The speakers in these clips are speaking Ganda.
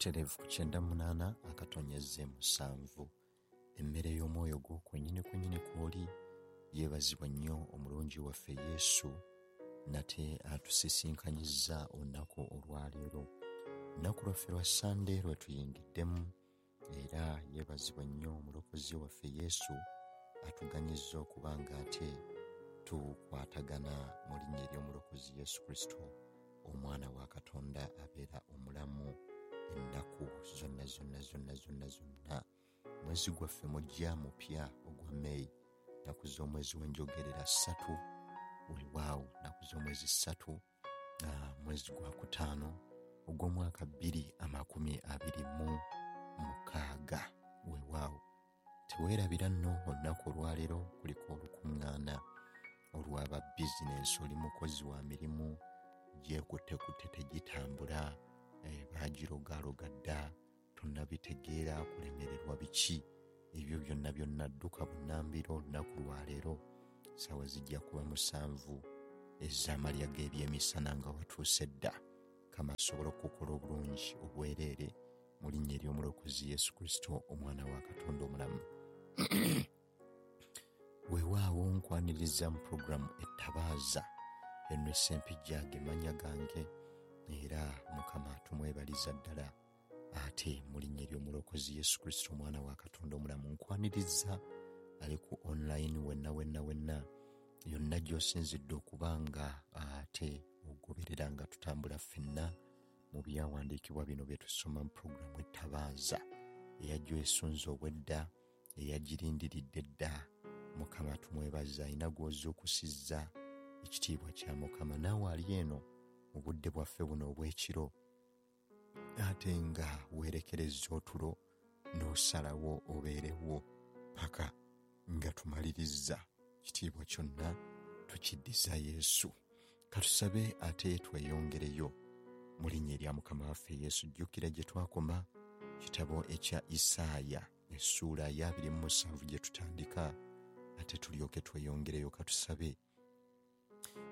Butereevu ku 98.7, emmere y'omwoyo gwo kwennyini kwennyini kw'oli. Yeebazibwa nnyo omulungi waffe Yesu nate atusisinkanyizza olunaku olwaleero, olunaku lwaffe lwa Sande lwe tuyingiddemu. Era yeebazibwa nnyo omulokozi waffe Yesu atuganyizza okuba nga ate tukwatagana mu linnya ery'omulokozi Yesu Kristo, omwana wa Katonda abeera omulamu ennaku zonna zonna zonna zonna zonna. Mwezi gwaffe mujja mupya ogwa May, nnaku z'omwezi w'enjogerera 3, weewaawo nnaku z'omwezi 3, mwezi gwa 5 ogw'omwaka 2026. Weewaawo teweerabira nno olunaku olwaleero kuliko olukuŋŋaana olw'aba bizinensi. Oli mukozi wa mirimu gyekuttekutte tegitambula, baagirogaloga dda, tonnabitegeera kulemererwa biki ebyo byonna byonna. Dduka bunnambiro olunaku lwaleero, ssaawa zijja kuba 7 ez'amalya g'ebyemisana nga watuuse dda. Mukama asobole okukola obulungi obwereere mu linnya ery'omulokozi Yesu Kristo, omwana wa Katonda omulamu. Weewaawo nkwaniriza mu pulogulaamu Ettabaaza. Eno Ssempijja ge mannya gange, era Mukama tumwebaliza ddala ate mu linnya ery'omulokozi Yesu Kristo, omwana wa Katonda omulamu. Nkwaniriza ali ku online wenna wenna wenna yonna gy'osinzidde okuba nga ate ogoberera nga tutambula ffenna mu byawandiikibwa bino bye tusoma mu pulogulaamu Ettabaaza, eyajja esunze obwedda, eyagirindiridde dda. Mukama tumwebaza, alina gw'ozuukusizza, ekitiibwa kya Mukama. Naawe ali eno mu budde bwaffe buno obw'ekiro, ate nga weerekereza otulo n'osalawo obeerewo paka nga tumalirizza, kitiibwa kyonna tukiddiza Yesu. Katusabe ate tweyongereyo mu linnya erya Mukama waffe Yesu. Jjukira gye twakoma, kitabo ekya Isaaya essuula ya 27 gye tutandika, ate tulyoke tweyongereyo. Katusabe.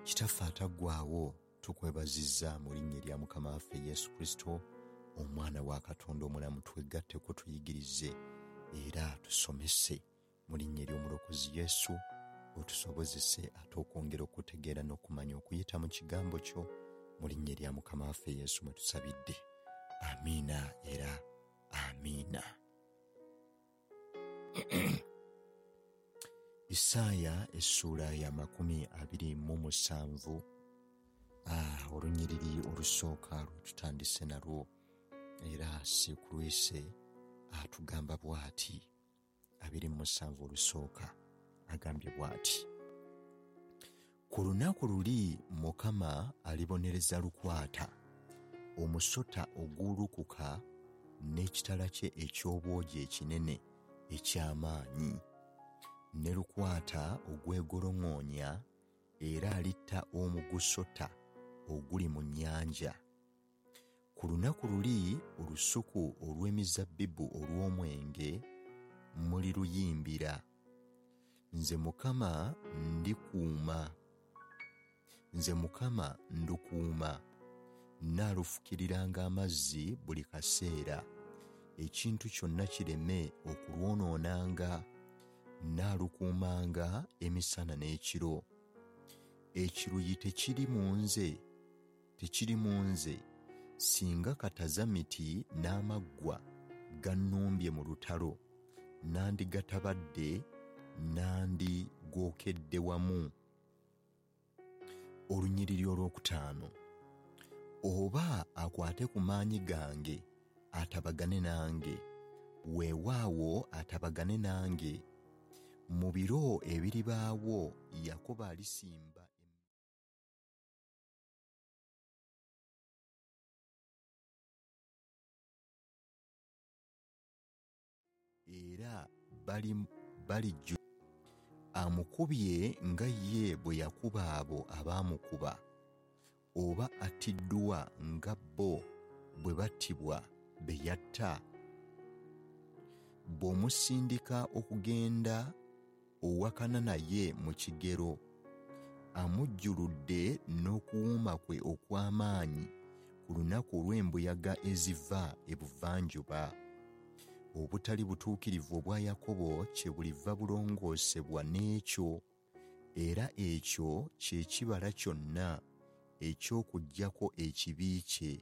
Kitaffe ataggwaawo, tukwebazizza mu linnya erya Mukama waffe Yesu Kristo, omwana wa Katonda omulamu. Twegatteko, tuyigirize era tusomese mu linnya ery'omulokozi Yesu, otusobozese ate okwongera okutegeera n'okumanya okuyita mu kigambo kyo. Mu linnya erya Mukama waffe Yesu mwe tusabidde, amiina era amiina. Isaaya essuula ya 27, olunyiriri olusooka lwe tutandise nalwo, era sikulwise atugamba bw'ati. 27 olusooka agambye bw'ati: ku lunaku luli Mukama alibonereza lukwata omusota oguwulukuka n'ekitala kye eky'obwogi ekinene eky'amaanyi, ne lukwata ogwegolongoonya, era alitta omugusota oguli mu nnyanja. Ku lunaku luli olusuku olw'emizabbibu olw'omwenge muliruyimbira. Nze Mukama ndikuuma, nze Mukama ndukuuma, nnaalufukiriranga amazzi buli kaseera, ekintu kyonna kireme okulwonoonanga, nnaalukuumanga emisana n'ekiro. Ekiruyi tekiri mu nze, tekiri mu nze, singa katazamiti n'amaggwa gannumbye mu lutalo, nandigatabadde, nandigookedde wamu. Olunyiriri olwokutaano: oba akwate ku maanyi gange atabagane nange, weewaawo atabagane nange. Mu biro ebiribaawo Yakobo alisimba era balijju amukubye nga ye bwe yakuba abo abaamukuba, oba attiddwa nga bo bwe battibwa be yatta. Bw'omusindika okugenda owakana naye mu kigero, amujjuludde n'okuwuuma kwe okw'amaanyi, ku lunaku olw'embuyaga eziva ebuvanjuba. Obutali butuukirivu obwa Yakobo kyebuliva bulongoosebwa n'ekyo, era ekyo kye kibala kyonna eky'okuggyako ekibi kye,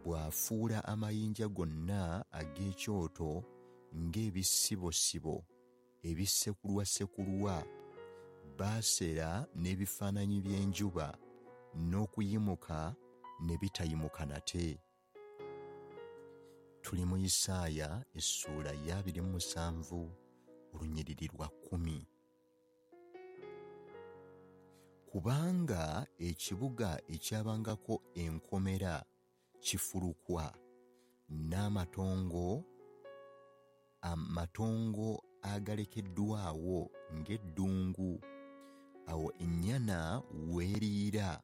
bw'afuula amayinja gonna ag'ekyoto ng'ebisibosibo ebisekulwasekulwa, baasera n'ebifaananyi by'enjuba, n'okuyimuka ne bitayimuka nate. Tuli mu Isaaya essuula ya 27 olunyiriri lwa 10. Kubanga ekibuga ekyabangako enkomera kifulukwa, n'amatongo agalekeddwawo ng'eddungu, awo ennyana weeriira,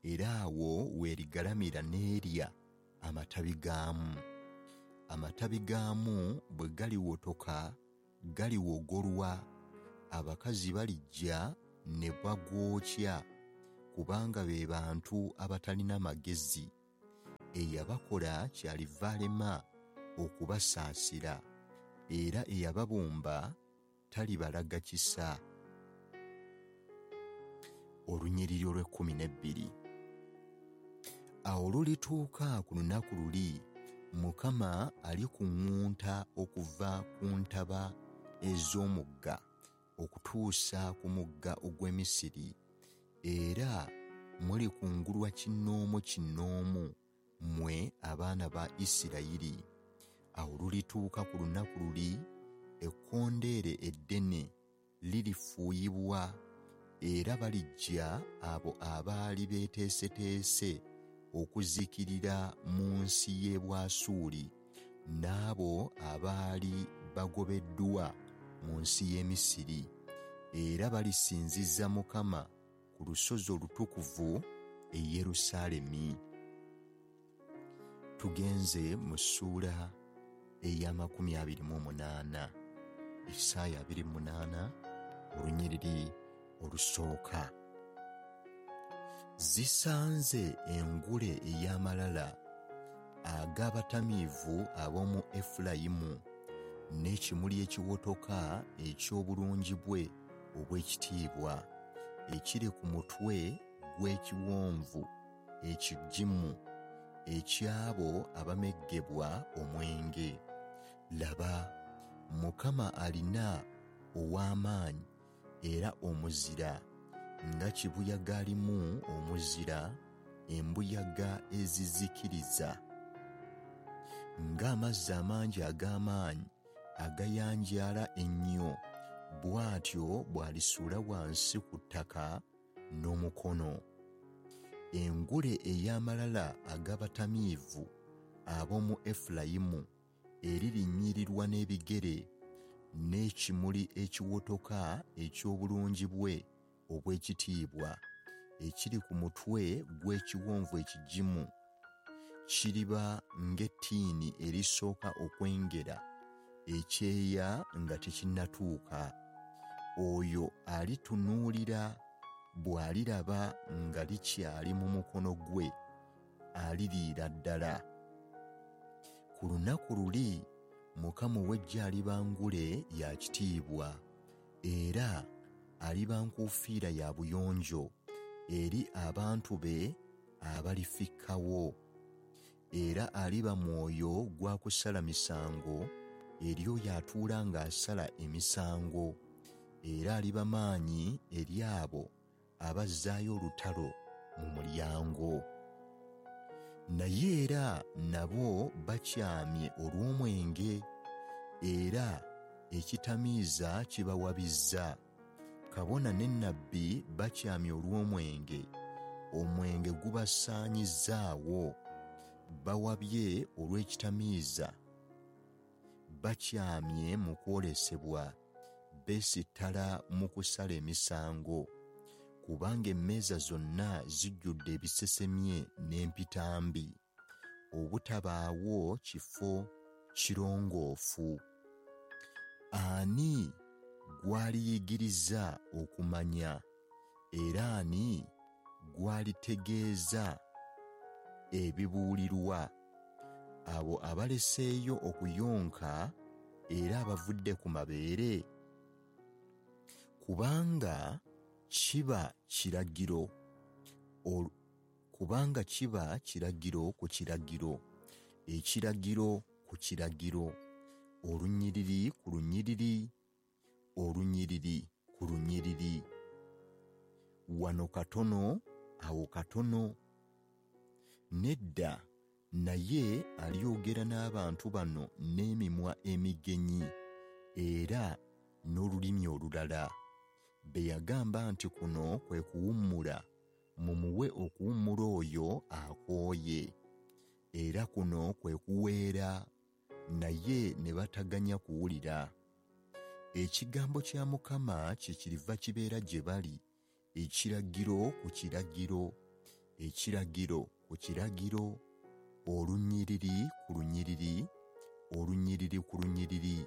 era awo weerigalamira n'erya amatabi gaamu. Amatabi gaamu bwe galiwotoka galiwogolwa, abakazi balijja ne bagookya, kubanga be bantu abatalina magezi. Eyabakola kyaliva alema okubasaasira, era eyababumba talibalaga kisa. Olunyiriri olw'e12. Awo lulituuka ku lunaku luli, Mukama alikuŋŋunta okuva ku ntaba ez'omugga okutuusa ku mugga ogw'e Misiri, era mulikungulwa kinnoomu kinnoomu mmwe abaana ba Isirayiri. Awo lulituuka ku lunaku luli, ekkondeere eddene lirifuuyibwa, era balijja abo abaali beeteeseteese okuzikirira mu nsi y'e Bwasuuli, n'abo abaali bagobeddwa mu nsi y'e Misiri, era balisinziza Mukama ku lusozi olutukuvu e Yerusaalemi. Tugenze mu ssuula eya 28, Isaaya 28 olunyiriri olusooka. Zisanze engule ey'amalala ag'abatamiivu ab'omu Efulayimu, n'ekimuli ekiwotoka eky'obulungi bwe obw'ekitiibwa, ekiri ku mutwe gw'ekiwonvu ekigimu eky'abo abameggebwa omwenge. Laba, Mukama alina ow'amaanyi era omuzira, nga kibuyaga alimu omuzira, embuyaga ezizikiriza, ng'amazzi amangi ag'amaanyi agayanjaala ennyo, bw'atyo bw'alisuula wansi ku ttaka n'omukono. Engule ey'amalala ag'abatamiivu ab'omu Efulayimu eririnnyirirwa n'ebigere, n'ekimuli ekiwotoka eky'obulungi bwe obw'ekitiibwa, ekiri ku mutwe gw'ekiwonvu ekigimu, kiriba ng'ettiini erisooka okwengera ekyeya nga tekinnatuuka. Oyo alitunuulira bw'aliraba nga likyali mu mukono gwe, aliriira ddala. Ku lunaku luli Mukama ow'eggye aliba ngule ya kitiibwa, era aliba nkuufiira ya buyonjo eri abantu be abalifikkawo. Era aliba mwoyo gwa kusala misango eri oyo atuula ng'asala emisango, era aliba maanyi eri abo abazzaayo olutalo mu mulyango. Naye era nabo bakyamye olw'omwenge, era ekitamiiza kibawabizza. Kabona ne nnabbi bakyamye olw'omwenge, omwenge gubasaanyizzaawo. Bawabye olw'ekitamiiza, bakyamye mu kwolesebwa, beesittala mu kusala emisango, kubanga emmeeza zonna zijjudde ebisesemye n'empitambi, obutabaawo kifo kirongoofu. Ani gw'aliyigiriza okumanya, era ani gw'alitegeeza ebibuulirwa, abo abaleseeyo okuyonka era abavudde ku mabeere? Kubanga kiba kiragiro kubanga kiba kiragiro ku kiragiro, ekiragiro ku kiragiro, olunyiriri ku lunyiriri, olunyiriri ku lunyiriri, wano katono awo katono. Nedda, naye alyogera n'abantu bano n'emimwa emigenyi era n'olulimi olulala, be yagamba nti kuno kwe kuwummula, mumuwe okuwummula oyo akooye, era kuno kwe kuweera, naye ne bataganya kuwulira. Ekigambo kya Mukama kyekiriva kibeera gye bali, ekiragiro ku kiragiro, ekiragiro ku kiragiro, olunyiriri ku lunyiriri, olunyiriri ku lunyiriri,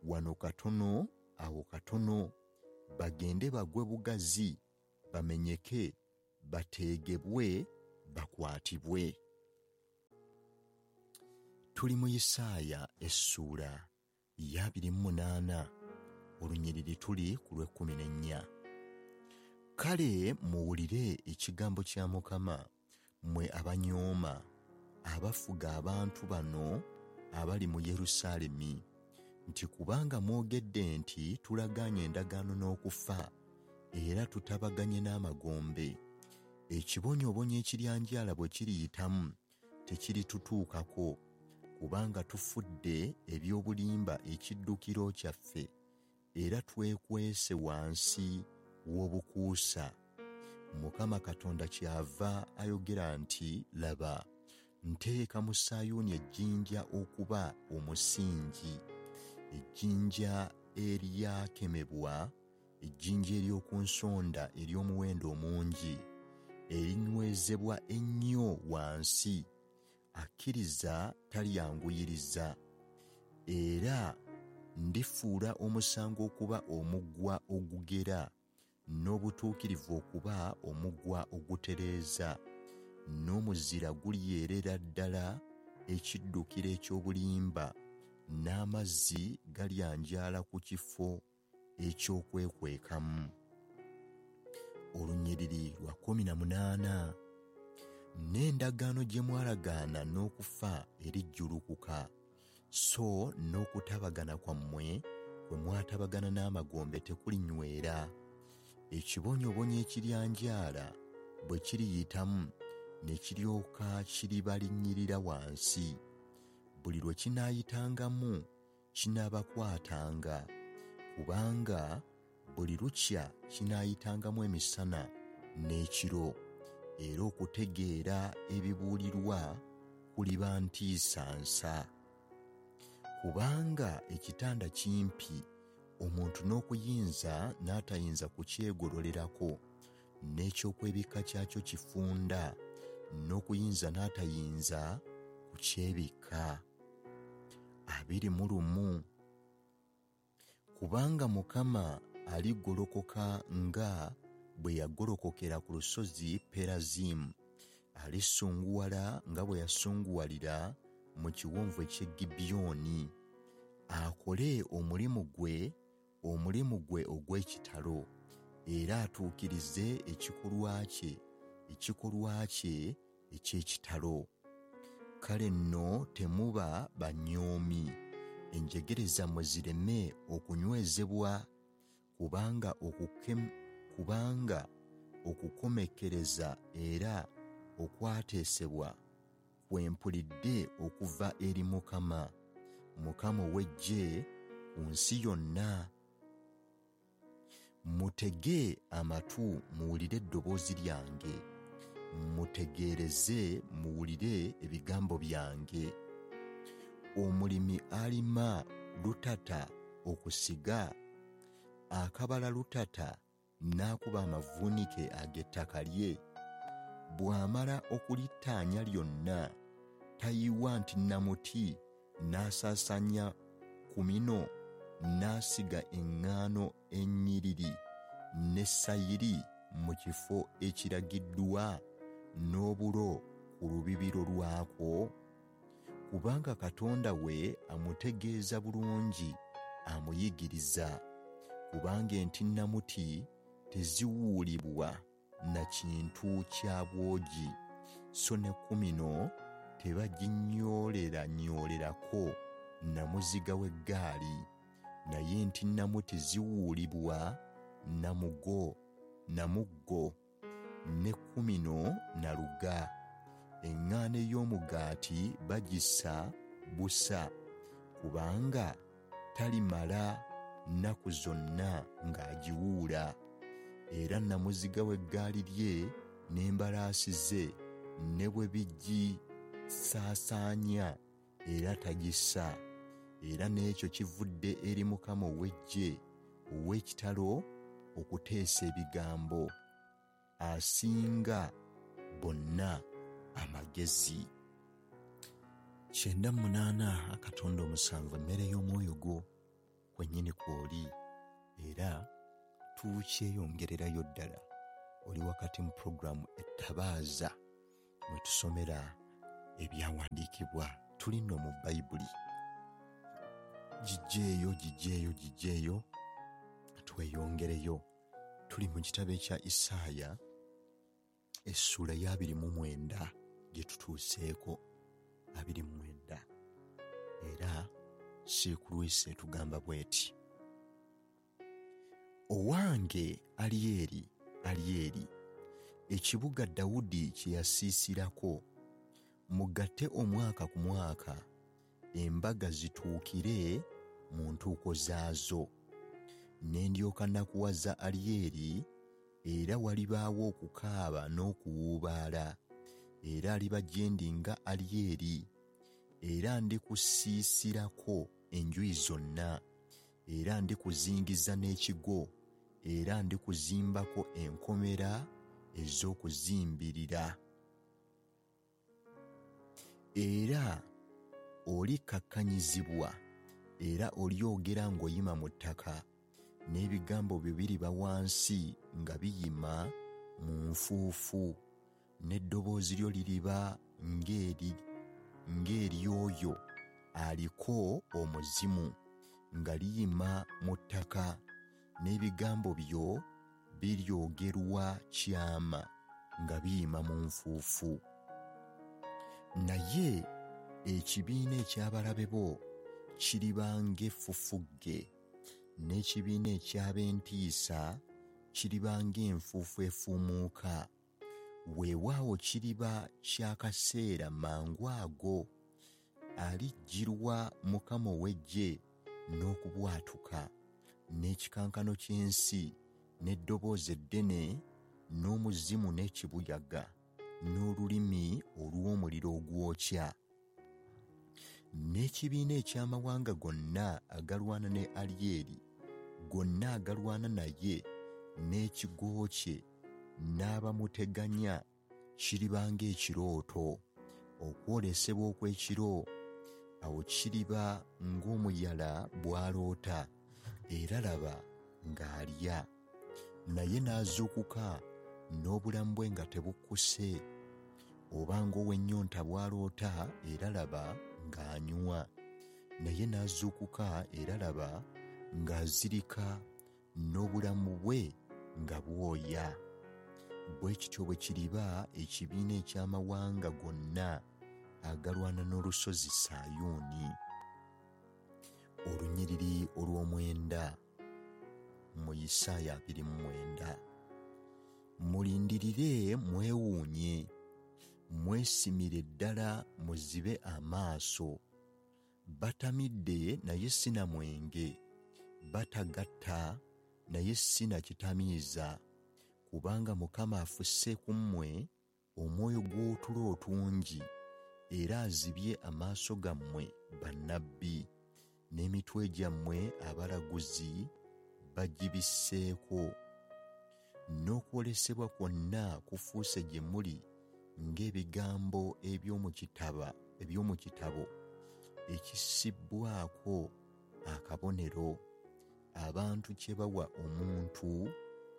wano katono awo katono, bagende bagwe bugazi, bamenyeke, bateegebwe, bakwatibwe. Tuli mu Isaaya essuula ya 28, olunyiriri tuli ku lw'ekkumi n'ennya. Kale muwulire ekigambo kya Mukama, mmwe abanyooma, abafuga abantu bano abali mu Yerusaalemi, nti kubanga mwogedde nti tulagaanye endagaano n'okufa, era tutabaganye n'amagombe, ekibonyoobonyo ekiryanjaala bwe kiriyitamu tekiritutuukako, kubanga tufudde eby'obulimba ekiddukiro kyaffe, era twekwese wansi w'obukuusa. Mukama Katonda kyava ayogera nti, laba, nteeka mu Sayuuni ejjinja okuba omusingi, ejjinja eryakemebwa, ejjinja ery'oku nsonda ery'omuwendo omungi, erinywezebwa ennyo wansi, akkiriza talyanguyiriza. Era ndifuula omusango okuba omugwa ogugera, n'obutuukirivu okuba omugwa ogutereeza, n'omuzira gulyerera ddala ekiddukiro eky'obulimba, n'amazzi galyanjaala ku kifo eky'okwekwekamu. Olunyiriri lwa 18. N'endagaano gye mwalagaana n'okufa erijjulukuka, so n'okutabagana kwammwe kwe mwatabagana n'amagombe tekulinywera. Ekibonyoobonyo ekiryanjaala bwe kiriyitamu ne kiryoka kiribalinnyirira wansi, buli lwe kinaayitangamu kinaabakwatanga, kubanga buli lukya kinaayitangamu emisana n'ekiro, era okutegeera ebibuulirwa kuliba ntiisa nsa. Kubanga ekitanda kimpi, omuntu n'okuyinza n'atayinza kukyegololerako, n'ekyokwebikka kyakyo kifunda, n'okuyinza n'atayinza kukyebikka. 21. Kubanga Mukama aligolokoka nga bwe yagolokokera ku lusozi Perazimu, alisunguwala nga bwe yasunguwalira mu kiwonvu eky'e Gibyoni, akole omulimu gwe ogw'ekitalo, era atuukirize ekikolwa kye eky'ekitalo. Kale nno temuba banyoomi, enjegere zammwe zireme okunywezebwa, kubanga okukomekkereza era okwateesebwa kwe mpulidde okuva eri Mukama, Mukama ow'eggye ku nsi yonna. Mutege amatu muwulire eddoboozi lyange, mutegeereze muwulire ebigambo byange. Omulimi alima lutata okusiga, akabala lutata n'akuba amavuunike ag'ettaka lye. Bw'amala okulittaanya lyonna, tayiwa nti namuti n'asaasaanya ku mino, n'asiga eŋŋaano ennyiriri ne sayiri mu kifo ekiragiddwa n'obulo ku ku lubibiro lwakwo? Kubanga Katonda we amutegeeza bulungi, amuyigiriza. Kubanga entinnamuti teziwuulibwa na kintu kya bwogi, so ne kumino tebaginyooleranyoolerako na muziga w'eggaali. Naye entinnamuti ziwuulibwa na muggo, ne kumino na luga. Eŋŋaano ey'omugaati bagisa busa, kubanga talimala nnaku zonna ng'agiwuula. Era namuziga w'eggaali lye n'embalaasi ze ne bwe bigisaasaanya era tagisa. Era n'ekyo kivudde eri Mukama ow'eggye ow'ekitalo okuteesa ebigambo, asinga bonna amagezi. 98.7 emmere y'omwoyo gwo kwennyini kw'oli, era tukyeyongererayo ddala. Oli wakati mu pulogulaamu Ettabaaza mwe tusomera ebyawandiikibwa. Tuli nno mu Bayibuli. Gijjeeyo, gijjeeyo, gijjeeyo, tweyongereyo. Tuli mu kitabo ekya Isaaya essuula ya 29 gye tutuuseeko, 29. Era siikulwisa etugamba bw'eti: Owange Alyeri, Alyeri, ekibuga Dawudi kye yasiisirako, mugatte omwaka ku mwaka, embaga zituukire mu ntuuko zaazo. Ne ndyoka nakuwaza Alyeri, era walibaawo okukaaba n'okuwuubaala, era aliba gye ndi nga Alyeri, era ndikusiisirako enjuyi zonna, era ndikuzingiza n'ekigo, era ndikuzimbako enkomera ez'okuzimbirira. Era olikkakkanyizibwa, era olyogera ng'oyima mu ttaka, n'ebigambo byo biriba wansi nga biyima mu nfuufu, n'eddoboozi lyo liriba ng'ery'oyo aliko omuzimu, nga liyima mu ttaka, n'ebigambo byo biryogerwa kyama nga biyima mu nfuufu. Naye ekibiina eky'abalabe bo kiriba ng'effufugge, n'ekibiina eky'ab'entiisa kiriba ng'enfuufu efuumuuka. Weewaawo kiriba kya kaseera mangu ago, alijjirwa Mukama ow'eggye n'okubwatuka, n'ekikankano ky'ensi, n'eddoboozi eddene, n'omuzimu n'ekibuyaga, n'olulimi olw'omuliro ogwokya. N'ekibiina eky'amawanga gonna agalwana ne Alyeri, gonna agalwana naye, n'ekigo kye, n'abamuteganya, kiriba ng'ekirooto, okwolesebwa okw'ekiro. Awo kiriba ng'omuyala bw'aloota, era laba ng'alya. Naye n'azuukuka n'obulamu bwe nga tebukkuse, oba ng'ow'ennyonta bw'aloota, era laba ng'anywa. Naye n'azuukuka, era laba ng'azirika n'obulamu bwe nga bwoya. Bwe kityo bwe kiriba ekibiina eky'amawanga gonna agalwana n'olusozi Sayuuni. Olunyiriri olw'omwenda mu Isaaya 29. Mulindirire mwewuunye, mwesimire ddala muzibe amaaso. Batamidde naye si na mwenge, batagatta naye si na kitamiiza, kubanga Mukama afuse ku mmwe omwoyo gw'otulo otungi, era azibye amaaso gammwe bannabbi, n'emitwe gyammwe abalaguzi bagibisseeko. N'okwolesebwa kwonna kufuuse gye muli ng'ebigambo eby'omu kitabo ekisibbwako akabonero, abantu kye bawa omuntu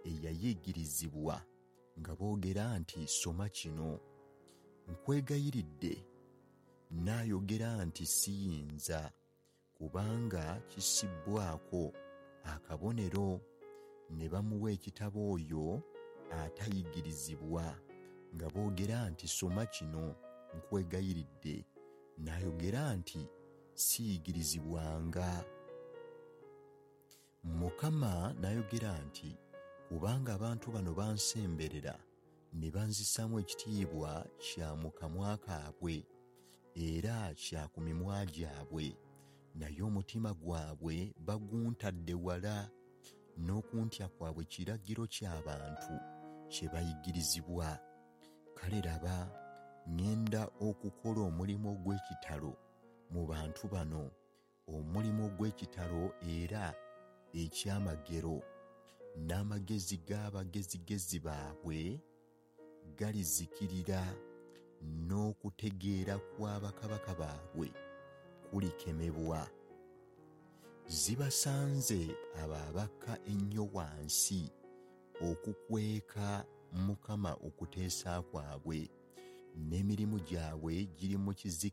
eyayigirizibwa nga boogera nti soma kino. Nkwegayiridde. N'ayogera nti, Siyinza, kubanga kissibbwako akabonero. Ne bamuwa ekitabo oyo atayigirizibwa, nga boogera nti, Soma kino, nkwegayiridde. N'ayogera nti, Siyigirizibwanga. Mukama n'ayogera nti, Kubanga abantu bano bansemberera ne banzisaamu ekitiibwa kya mu kamwa kaabwe era kya ku mimwa gyabwe, naye omutima gwabwe baguntadde wala, n'okuntya kwabwe kiragiro ky'abantu kye bayigirizibwa. Kale laba, ŋŋenda okukola omulimu ogw'ekitalo mu bantu bano, omulimu ogw'ekitalo era ekyamagero, n'amagezi g'abagezigezi baabwe galizikirira, n'okutegeera kwa bakabaka baabwe kulikemebwa. Zibasanze abo abakka ennyo wansi okukweka Mukama okuteesa kwabwe, n'emirimu gyabwe giri mu kizikiza.